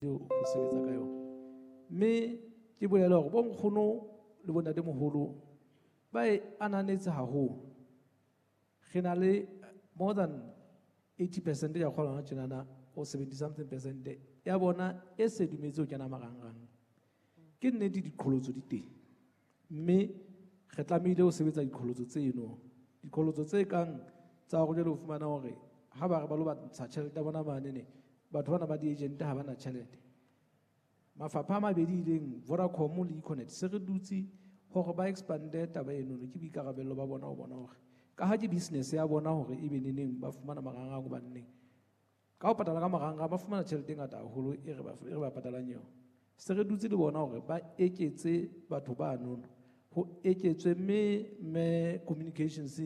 Ho sebetsa ka yona. Mme ke bolela hore bo nkgono le bo ntatemoholo ba e ananetse haholo. Re na le more than 80% ya kgolwa hona tjenana, or 70 something percent ya bona e se dumetse ho kena marangrang. Ke nnete diqholotso di teng, mme re tlamehile ho sebetsa diqholotso tseno. Diqholotso tse kang tsa hore jwale o fumana hore ha ba re ba lo ba ntsha tjhelete ya bona manene, batho bana ba di-agent ha bana tjhelete. Mafapha a mabedi ileng Vodacom le Econet se re dutse hore ba expande taba eno, ke boikarabello ba bona ho bona hore ka ha ke business ya bona hore ebe neneng ba fumana marangrang hobane neng ka ho patala ka marangrang ba fumana tjhelete e ngata haholo e re ba, e re ba patalang yona. Se re dutse le bona hore ba eketse batho ba nono, ho eketswe mme communications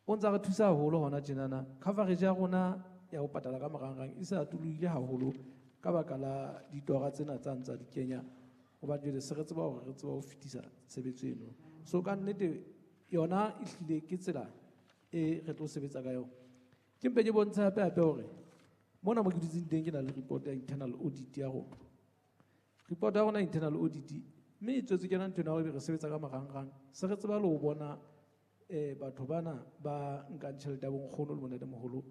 o ntsa re thusa haholo hona tjenana. Coverage ya rona ya ho patala ka marangrang e se atolohile haholo ka baka la ditora tsena tsa ntsa di kenya, hobane jwale se re tseba hore re tseba ho fetisa tshebetso eno. So ka nnete yona e hlile ke tsela e re tlo sebetsa ka yona. Ke mpe ke bontshe hape hape hore mona mo ke dutseng teng ke na le report ya internal audit ya rona. Report ya rona internal audit mme e tswetse ke yona ntho ena hore re sebetsa ka marangrang. Se re tseba le ho bona batho bana ba nkang tjhelete ya bo nkgono le bo ntatemoholo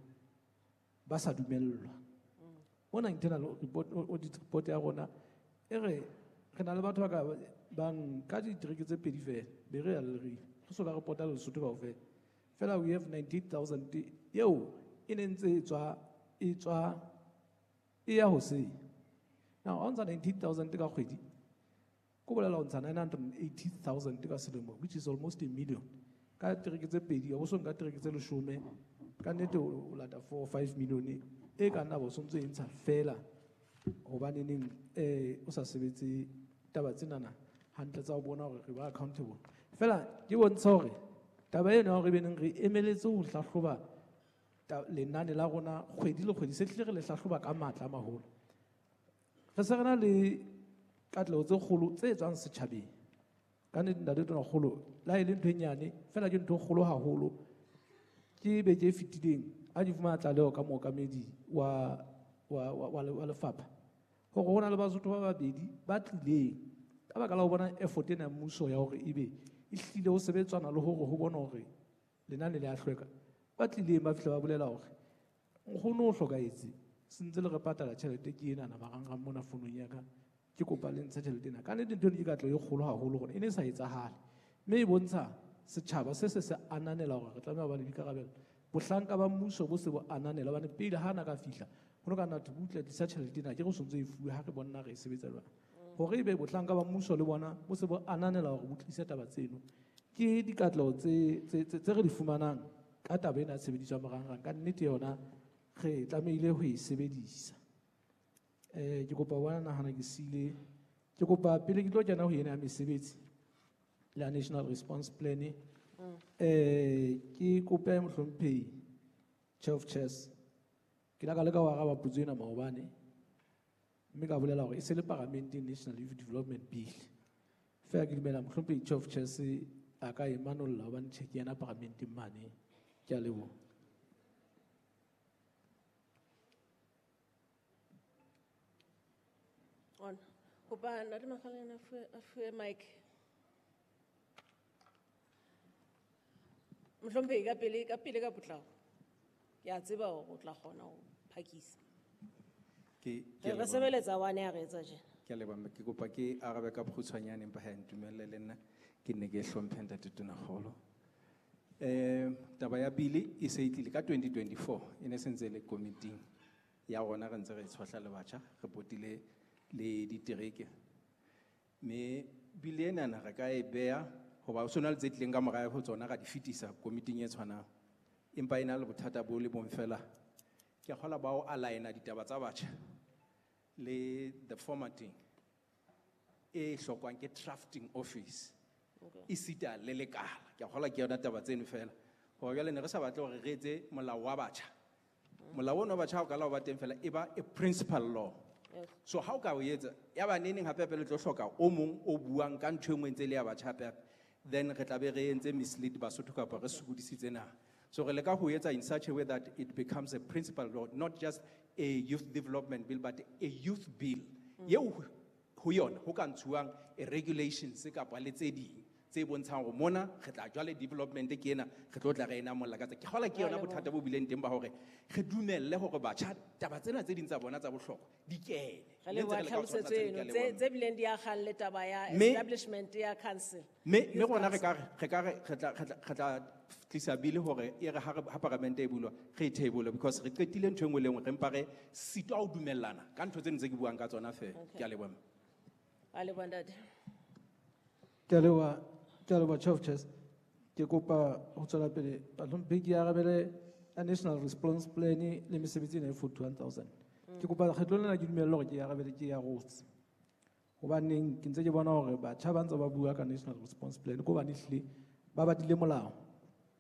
ba sa dumellwa. Mona internal report, audit report ya rona e re re na le batho ba ka bang ka ditereke tse pedi fela, be re ya Leribe. Re soka re pota Lesotho kaofela. Fela we have 98,000 eo e ne ntse e tswa, e tswa e ya hoseng. Now, ha o ntsha 98,000 ka kgwedi, ko bolela o ntsha 980,000 ka selemo, which is almost a million. Ka tereke tse pedi, o so nka tereke tse leshome, ka nnete o lata 4 or 5 million e ka nna bo sontse e ntsha fela hobane neng o sa sebetse taba tsenana hantle tsa ho bona hore re ba accountable. Fela ke bontsha hore taba ena ya hore ebe neng re emeletse ho hlahloba lenane la rona kgwedi le kgwedi, se hlile re le hlahloba ka matla a maholo. Re se re na le katleho tse kgolo tse tswang setjhabeng. Ka nnete ntate Tonakgolo, le ha e le ntho e nyane, fela ke ntho e kgolo haholo. Ke beke e fetileng ha ke fumana tlaleho ka mookamedi wa lefapha hore ho na le Basotho ba babedi ba tlileng ka baka la ho bona effort ena ya mmuso ya hore ebe e hlile ho sebetsana le hore ho bona hore lenane le a hlweka. Ba tlileng ba fihla ba bolela hore nkgono o hlokahetse, se ntse le re patala tjhelete ke enana marangrang mona founung ya ka, ke kopa le ntshe tjhelete ena. Ka nnete ntho eno ke katleho e kgolo haholo hore e ne e sa etsahale, mme e bontsha setjhaba se se se ananela hore re tlameha ho ba le boikarabelo. Bohlanka ba mmuso bo se bo ananela hobane pele ha na ka fihla ho no ka nna thwe butle tlisa tjhelete ena, ke re o sontso e fuwe ha re bona re e sebetsa jwang. Hore ebe bohlanka ba mmuso le bona bo se bo ananela hore bo tlise taba tseno, ke dikatleho tse re di fumanang ka taba ena ya tshebediso ya marangrang. Ka nnete yona re tlamehile ho e sebedisa. Ke kopa ho bona nahana ke siile, ke kopa pele ke tlo kena ho ena ya mesebetsi la National Response Plan, ke kope mohlomphehi Chair of Chairs, ke la ka leka ho araba potso ena maobane, mme ka bolela hore e se le Paramenteng National Youth Development Bill. Feela ke dumela mohlomphehi Chair of Chairs a ka e manolla hobane tjhe ke yena Paramenteng mane. Ke a leboha. On. Kopa Ntate Makgaleng a fuwe mic. Mohlomphehi, ka pele, ka pele ka potlako. Ke a tseba hore o tla kgona ho phakisa. Ke Re a leboha. sebeletsa one ya re etsa tjena. Ke a leboha, mme ke kopa ke arabe ka bokgutshwanyane, empa ha e ntumelle le nna ke nne ke hlomphe Ntate Tonakgolo. Taba ya bili e se e tlile ka 2024, e ne se ntse e le komiting ya rona, re ntse re e tshohla le batjha, re potile le ditereke. Mme bili enana re ka e beha hoba ho sona le tse tlileng ka mora ho tsona ra di fetisa komiting e tshwanang. Empa e na le bothata bo le bong fela. Ke a kgolwa ba o align-a ditaba tsa batjha le the formatting e hlokwang ke drafting office. Esita le lekala. Ke a kgolwa ke yona taba tseno fela. Hore jwale ne re sa batle hore re etse molao wa batjha. Molao ono wa batjha ha o ka la o ba teng fela, e ba a principal law. So ha o ka o etsa, ya ba neneng hape hape le tlo hloka o mong o buang ka ntho e nngwe ntse e le ya batjha hape hape, then re tla be re entse mislead Basotho kapa re sokodisitse naha. So re leka ho etsa in such a way that it becomes a principal law, not just a youth development bill but a youth bill eo ho yona ho ka ntshuwang a regulations kapa le tse ding tse bontshang hore mona re tla jwale development ke ena, re tlo tla re e namolla ka tse. Ke kgolwa ke yona bothata bo bileng teng ba hore re dumelle hore batjha taba tsena tse ding tsa bona tsa bohlokwa di kene. Re Mme ntse leboha re leka ho tlhalosetso tshwarella tse ding, eno ke a leboha. tse bileng di akgang le taba ya establishment ya council. Mme Youth rona re council. ka re, re ka re, re tla, re tla, re tla tlisa bili hore e re ha re, ha paramente e bulwa, re e table because re qetile ntho e nngwe le nngwe, re mpa re sitwa ho dumellana ka ntho tseno tse ke buang ka tsona feela. Okay. Ke a leboha, mme. A leboha, ntate. Ke a leboha, ke a leboha, Chief Justice. Ke kopa ho tswela pele, Bahlomphehi, ke arabele a National Response Plan le mesebetsi ena e 41,000. Ke kopa kgetlong lena ke dumelle hore ke arabele ke ya rotse. Hobaneng ke ntse ke bona hore batjha ba ntse ba bua ka National Response Plan, ke hobane ehlile ba badile molao,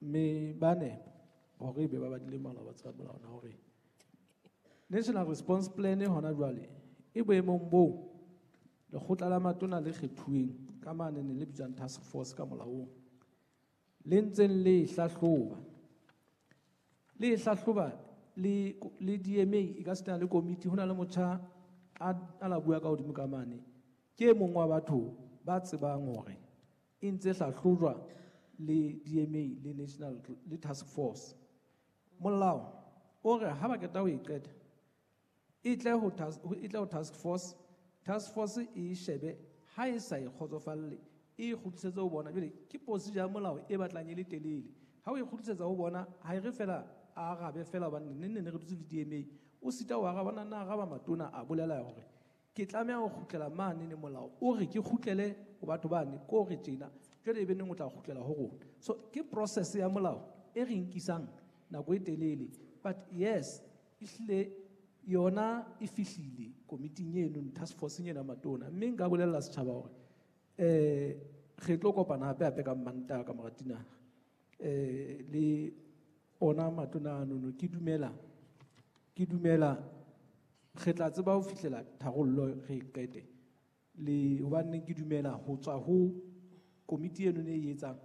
mme ba nepa hore ebe ba badile molao, ba tseba molao na hore National Response Plan hona jwale e boemong boo lekgotla la matona le kgethuweng ka mane le bitswang task force ka molaong le ntseng le e hlahloba. Le e hlahloba le DMA e ka sitana le komiti, ho na le motjha a la bua ka hodimo ka mane. Ke e mong wa batho ba tsebang hore e ntse hlahlojwa le DMA le National le Task Force. Molao o re ha ba qeta ho e qeta, e tle ho task, e tle ho task force, task force e shebe ha e sa e kgotsofalle, e kgutlisetse ho bona. Jwale ke procedure ya molao e batlang e le telele. Ha o e kgutlisetsa ho bona, ha e re fela a arabe fela hobane neng neng re dutse le DMA, o sita ho araba, na araba matona a bolela hore ke tlameha ho kgutlela mane ne molao o re ke kgutlele ho batho bane, ko re tjena, jwale e be neng o tla kgutlela ho rona. So ke process ya molao e re nkisang nako e telele, but yes, ehlile yona e fihlile komiting eno, task force ena ya matona. Mme nka bolella setjhaba hore, re tlo kopana hape hape ka Mantaha ka mora dinaha. Le ona matona ano, ke dumela re tla tseba ho fihlela tharollo re e qete. Le hobane ke dumela ho tswa ho komiti eno e etsang,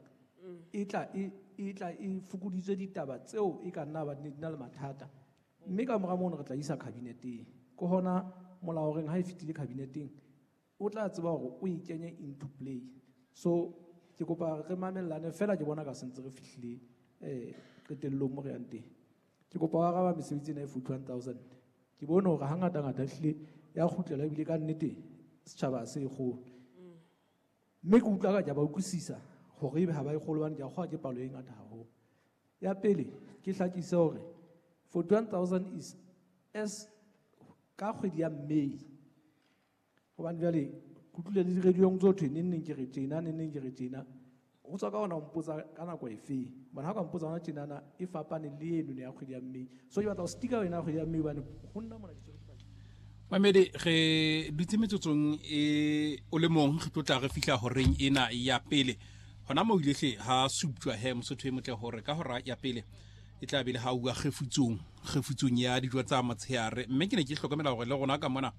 e tla e, e tla e fokoditswe ditaba tseo e ka nna ba di na le mathata. Mme ka mora mono re tla isa kabineteng. Ke hona molao reng ha e fetile kabineteng, o tla tseba hore o e kenye into play. So ke kopa re mamellane fela, ke bona ka sentse re fihlile, qetellong mo re yang teng. Ke kopa ho araba mesebetsi ena e 41,000. Ke bone hore hangata ngata ehlile ya kgutlela ebile ka nnete setjhaba se e kgolo. Mme ke utlwa ka ke a ba utlwisisa hore ebe ha ba e kgolo hobane ke a kgolwa ke palo e ngata haholo. Ya pele, ke hlakise hore 41,000 is as ka kgwedi ya May. Hobane jwale ke utlwile le di-radio-ong tso thwe neng neng ke re tjena, neng neng ke re tjena. Ho tswa ka hona ho mpotsa ka nako efe. Hobane ha o ka mpotsa hona tjenana e fapane le eno ya kgwedi ya May. So ke batla ho stika wena kgwedi ya May hobane ho nna mona ke tswele pele. Mamedi, re dutse metsotsong e o le mong, re tlo tla re fihla horeng ena ya pele. Hona moo ile hle ha suptjwa he Mosotho e motle hore ka hora ya pele e tla be le ha uwa kgefutsong ya dijo tsa motshehare. Mme ke ne ke hlokomela hore le rona ka mona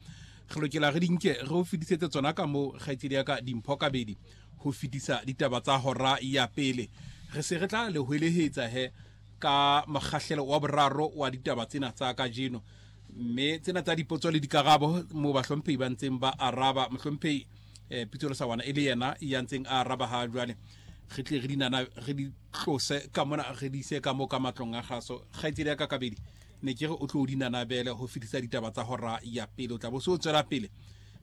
re lokela re di nke re o fetisetse tsona ka moo kgaitsedi ya ka Dimpho Kabedi ho fetisa ditaba tsa hora ya pele. Re se re tla le hwelehetsa he ka mokgahlelo wa boraro wa ditaba tsena tsa kajeno. Mme tsena tsa dipotso le dikarabo moo bahlomphehi ba ntseng ba araba. Mohlomphehi, Pitso Lesawana e le yena ya ntseng a araba ha jwale. Re tle re dinana, re di tlose ka mona, re di ise ka moo ka matlong a kgaso. Kgaitsedi ya ka Kabedi, ne ke re o tlo dinanabele ho fetisa ditaba tsa hora ya pele. O tla bo se o tswela pele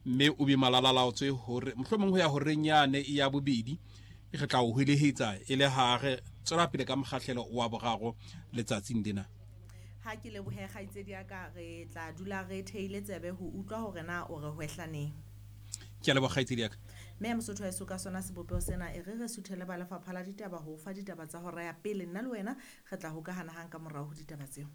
mme o be malalalaotswe hore mohlomong ho ya horeng yane ya bobedi re tla o hwelehetsa e le ha re tswela pele ka mokgahlelo wa boraro letsatsing lena. Ha ke lebohe kgaitsedi ya ka, re tla dula re theile tsebe ho utlwa hore na o re hwehlaneng. Ke a leboha kgaitsedi ya ka. Mme Mosotho wa heso ka sona sebopeho sena, e re re suthele ba lefapha la ditaba ho fa ditaba tsa hora ya pele. Nna le wena re tla hokahana hang ka morao ho ditaba tseo.